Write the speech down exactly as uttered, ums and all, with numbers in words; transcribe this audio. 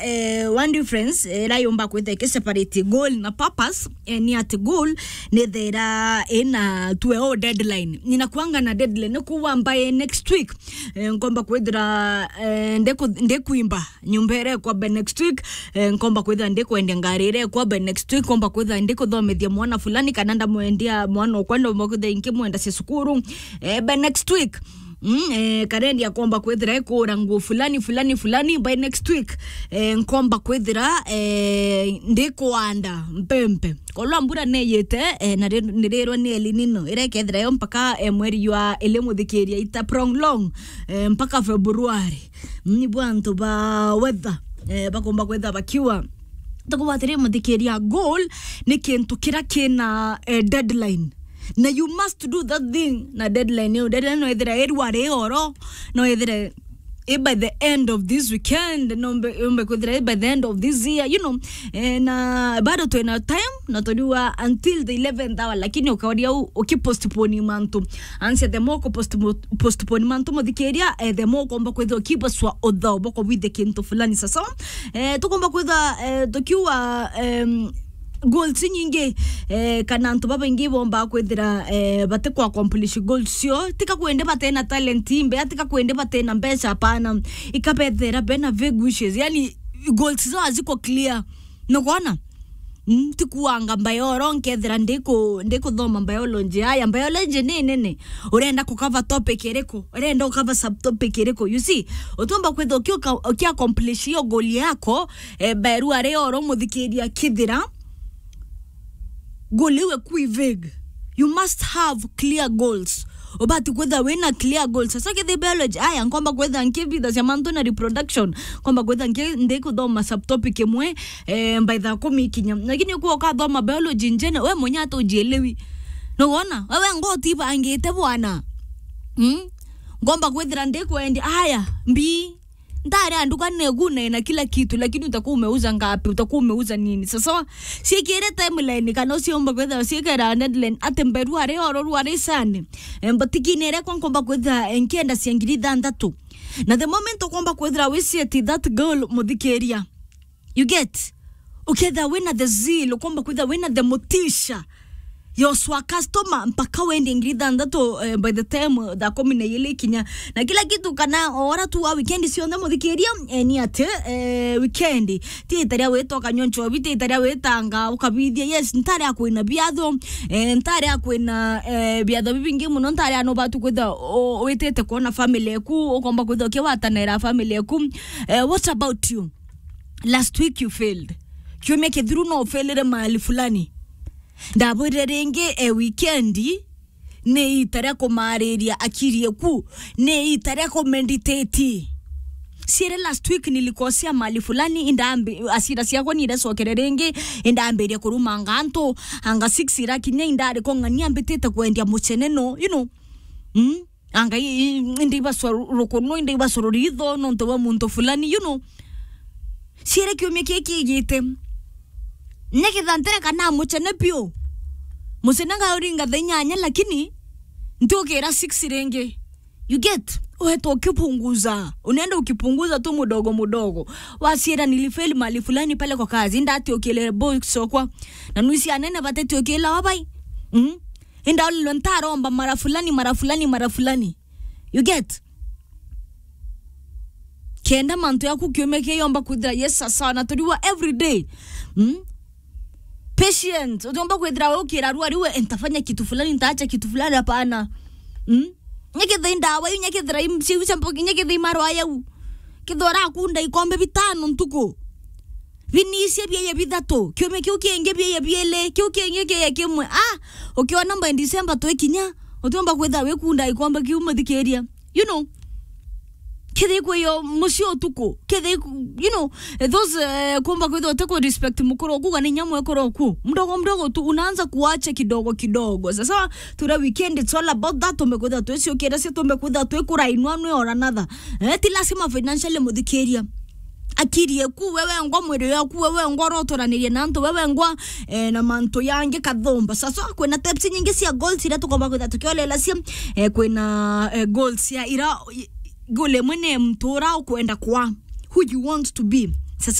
eh, one difference, eh, ira yumba kwitha iki separate goal na purpose, eh, ni ati goal ni thera ina tuwe o deadline. Nina kwanga na deadline, ni kuwa by next week, eh, nkomba kwithira, eh, ndiku-, ndikuimba nyumba ira ikwa by next week, eh, nkomba kwithira ndikwendia ngari ira ikwa by next week, nkomba kwithira ndikuthomithia mwana fulani, kana ndamwendia mwana okwa, ndomba kwithira nkimwenda cia cukuru, eh, by next week. Mm, eh, karendi akomba kwithira ikura nguo fulani, fulani, fulani by next week. Eh, nkomba kwithira, eh, ndikwanda mpempe. Kolwa mbura neyite, eh, na ri-, nirirwa ni El Nino, ira ikethira yo mpaka, eh, mweri jwa ili muthikiria ita prolong, eh, mpaka February. Ni bwa antu ba weather, eh, bakomba kwithira bakiwa. Tukubatiri muthikiria, goal ni kintu kira kina, eh, deadline. Na you must do that thing na deadline iyo. Deadline no ithire irwa ri oro, no ithire i by the end of this weekend, no mbe, mbe kwithira i by the end of this year, you know. Eh, na bado twina time, na turiwa until the eleventh hour, lakini ukaria u-, ukipostpone mantu. Ansia the more ku postmo-, postpone mantu muthikiria, eh, the more ukomba kwithira ukibaswa uthao boko bwithe kintu fulani. Sasa, eh, tukomba kwithira, eh, tukiwa, em, goals nyingi, eh, kana antu babaingi bomba kwithira, eh, bati ku accomplish goals cio, tika kwende batena talent imbe, tika kwende batena mbeca, hapana, ikabethera bena vague wishes, yani goals zao haziko clear, nugona? Mm, ti kuanga mbae oro nkethira ndiku-, ndikuthoma biology. Aya, biology ni nene. Urenda ku cover topic iriku? Urenda u cover subtopic iriku? You see, utumba kwithira uki-, uki accomplish iyo goal yako, eh, beru ari oro muthikiria kithira goal iwe kui vague. You must have clear goals. Ubati kwithira wina clear goals. Sasa kithi biology, aya, nkomba kwithira nkibitha cia mantu na reproduction. Nkomba kwithira nki-, ndikuthoma subtopic imwe, eh, by thaa kumi ikinya. Lakini ukuwa ukathoma biology njene, we mwenye hata ujielewi. Nugona? Wewe ngo utibangite bwana. Mm? Ngomba kwithira ndikwendia, aya, mbi. Ntare anduka negu na ina kila kitu, lakini utakuwa umeuza ngapi? Utakuwa umeuza nini? Sasa, siikire timeline kana uciumba kwithira siikira deadline ati mberu ari oro rwari sani. Em, but kini ire kwa nkomba kwithira, eh, nkienda cia ngiri ithanthatu. Na the moment ukomba kwithira wi set that goal muthikiria. You get? Ukethira wina the zeal, ukomba kwithira wina the motisha. Yoswa customer mpaka wendie ngiri ithanthatu, eh, by the time, eh, thaa kumi na ijiri ikinya. Na kila kitu kana ora tu wa weekend cionthe muthikiria, eh, ni ati, eh, weekend. Ti ita ria wita ukanyua nchobi, ti ita ria witanga ukabithia. Yes, ntare akwina biatho, eh, ntare akwina, eh, biatho bibingi muno, ntare ano batu kwitha u-, witite kuona family eku, ukomba kwitha ukiwatanira family eku. Eh, what about you? Last week you failed. Kiumia kithiru no ufailire mahali fulani. Ndabwirire ringi, e weekend ni ita ria kumariria akiri eku, ni ita ria kumeditate. Siere last week nilikosea mahali fulani, indambi-, asira ciakwa niracokere ringi, indambiria kurumanga antu, anga six irakinya indari kong'ania mbitite kwendia mucene no, you know. Mm? Anga i-, i-, indi ibacwa ru-, rukunu, indi ibacwa ruritho, nontu bwa muntu fulani, you know. Siere kiumia kii kiigite. Nyeketha ntereka na mucene biu. Mucene ngauringa thaa inyanya, lakini ntiukira six ringi. You get? Uhetwa ukipunguza. Unaenda ukipunguza tu mudogo mudogo. Wasiera nilifeli mahali fulani pale kwa kazi. Ndatiukile boss okwa. Na nuisi anene batetiukila wabai. Mm? Indaulilwe ntaromba mara fulani, mara fulani, mara fulani. You get? Kenda mantu yaku kiume kiyomba kwithira yes sawa na turiwa every day. Mm? Patient, utomba kwithira ukira rua riwe, "Eh, nitafanya kitu fulani, nitaacha kitu fulani," hapana. Mm? Nyekethei ndawa iu, nyekethira im-, ciu cia mbogi, nyekethei marwa yau. Kethira urakunda ikombe bitano ntuku. Binicie bieye bithatu, kiumia kiu kingi bieye biili, kiu kingi kieye kimwe. Ah, ukiona by December twikinya, utiumba kwithira wikunda ikombe kiu muthikiria. You know, kethei kwiyo mucii utuku, kethei ku-, you know, those, eh, kumba kwithira utiku respect mukuru oku, kana inya mwekuru oku. Mdogo mdogo tu, unaanza kuacha kidogo kidogo. Sasa, tura weekend, it's all about that. Tumbe kwithira twiciukira cia, tumbe kwithira twikurainwa nwe or another. Eh, ti lazima financially muthikiria. Akiri eku, wewe ngwa mwiri yaku, wewe ngwa urotoraniria na antu, wewe ngwa, eh, na mantu yangi kathumba. Sasa, kwina types nyingi cia goals iria tukomba kwithira tukiolelacia, eh, kwina, eh, goals ya ira, i-, goal imwe ni mtu ura ukwenda kwa, who you want to be. Sasa,